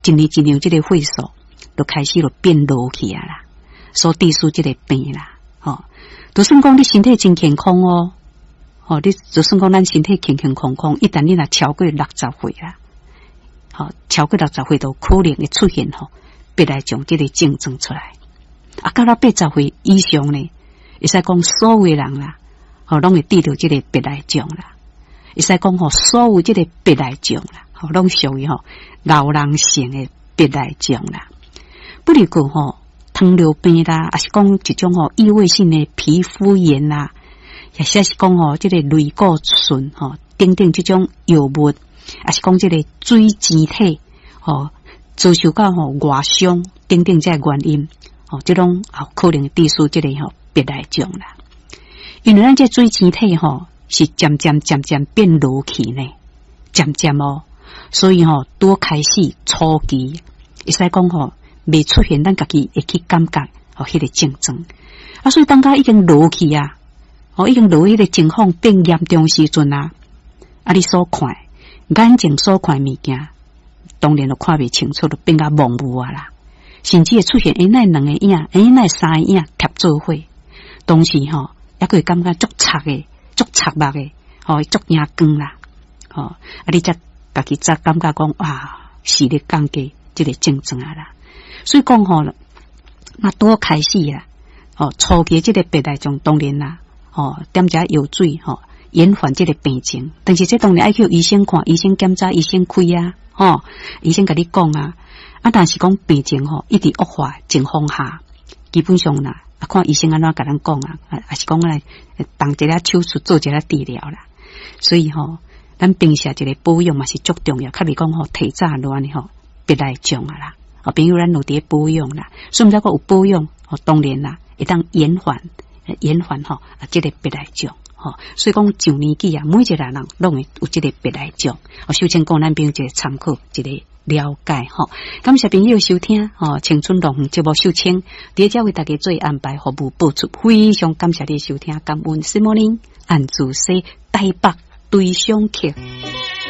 一年一年這个歲數就開始就變老去啊啦，所致使這个病啦，吼，就算講你身體真健康哦，吼，你就算講咱身體健健康康，一旦你若超過六十歲啦，吼，超過六十歲都可能會出現吼，白內障這个症狀出來。啊，到了八十歲以上呢，會使講所有人啦，吼，攏會得著這个白內障啦。會使講吼，所有這个白內障啦，吼，攏屬於吼老人性的白內障啦。不如講吼，糖尿病啦，抑是講一種吼異位性的皮膚炎啦，或者是講吼這个類固醇吼等等這種藥物，抑是講這个水晶體吼遭受到吼外傷等等這个原因，吼，這攏有可能致使這個吼白內障啦。因為咱這水晶體吼是漸漸漸漸變落去呢，漸漸哦，所以吼拄開始初期，會使講吼未出現，咱家己會去感覺吼彼個症狀。啊，所以當佮已經落去啊，吼已經落彼個情況變嚴重時陣啊，啊，你所看眼睛所看物件，當然就看袂清楚，就變甲模糊啊啦。甚至會出現欸，哪會兩个影，欸，哪會三個影疊做伙，當時吼，猶閣會感覺足赤的，足赤目的，吼，足驚光啦，吼，啊，你才家己才感覺講哇，視力降低這个症狀啊啦。所以講吼，那拄開始啦，吼，初期這个白內障當然啦，吼，點一藥水吼，延緩這个病情。但是這當然愛去醫生看，醫生檢查，醫生開啊，吼，醫生共你講啊。啊，但是講病情吼一直惡化情況下，基本上啦，啊，看醫生按怎共咱講啊，啊，抑是講來動一下手術做一下治療啦。所以吼，咱平時一个保養嘛是足重要，較袂講吼提早亂吼白內障啊啦。哦，朋友咱有佇咧保養啦，所以毋知講有保養，吼，當然啦，會當延緩延緩吼啊，這個白內障吼。所以講上年紀啊，每一個人攏會有這個白內障。哦，首先講咱朋友一個參考，一個了解吼。感謝朋友收聽吼，青春樂園節目秀清，佇遮為大家做安排服務播出，非常感謝你收聽，感恩。是莫林按主說台北對象客。